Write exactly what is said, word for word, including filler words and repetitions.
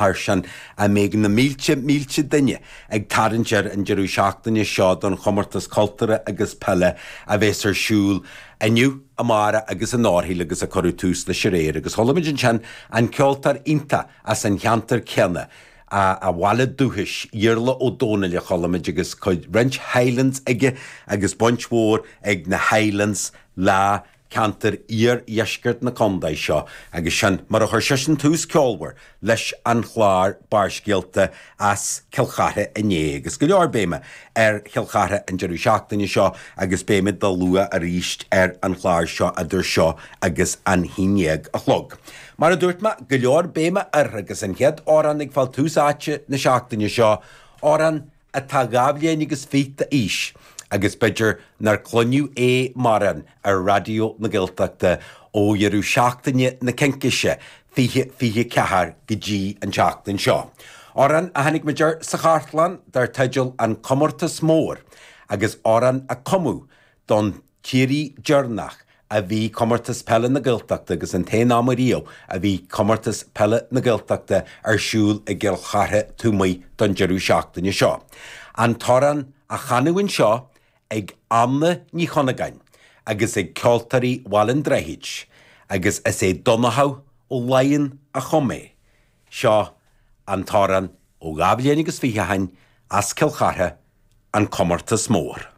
Thar sin a mbeidh na mílte mílte duine ag tarraingt air an deireadh seachtaine seo don chomórtas cultúrtha agus peile a bheas ar siúl inniu, amárach agus an árthaíl agus a cuireadh tús leis aréir agus chuala muid ansin an ceoltóir iontach as an cheantar céanna, a bhaile dúchais, Iarla Ó Dónaill a chuala muid agus cuid roinnt Highlands aige agus baint mhór ag na Highlands le ceantar iardheisceart na contae seo agus sin mar a chuir seisean tús ceolmhar leis an chlár Barrscéalta as Cill Chartha inné agus go leor béime ar Chill Chartha an deireadh seachtaine seo agus beimid dá lua arís ar an chlár seo idir seo agus an haon dhéag a chlog. Mar a dúirt mé, go leor béime air agus an chéad amhrán ag fáil tús áite na seachtaine seo, amhrán atá dhá bhliain agus fiche d'aois agus b'fhéidir nár cluineadh é mórán ar Raidió na Gaeltachta ó dheireadh seachtaine na Cincíse fiche fiche ceathair go dtí an tseachtain seo. Amhrán a tháinig muid air sa chartlann dar teideal An Comórtas Mór agus amhrán a cumadh don t-iarraidh deireanach a bhí Comórtas Peile na Gaeltachta agus an t-aon am ariamh a bhí Comórtas Peile na Gaeltachta ar siúl i gCill Chartha taobh amuigh don deireadh seachtaine seo. An t-amhrán á chanadh anseo ag Anna Ní Chunagáin agus ag Ceoltóirí Bhaile an Droichid agus is é Donnchadh Ó Laighin a chum é. Seo an t-amhrán ó dhá bhliain agus fiche ó shin as Cill Chartha, An Comórtas Mór.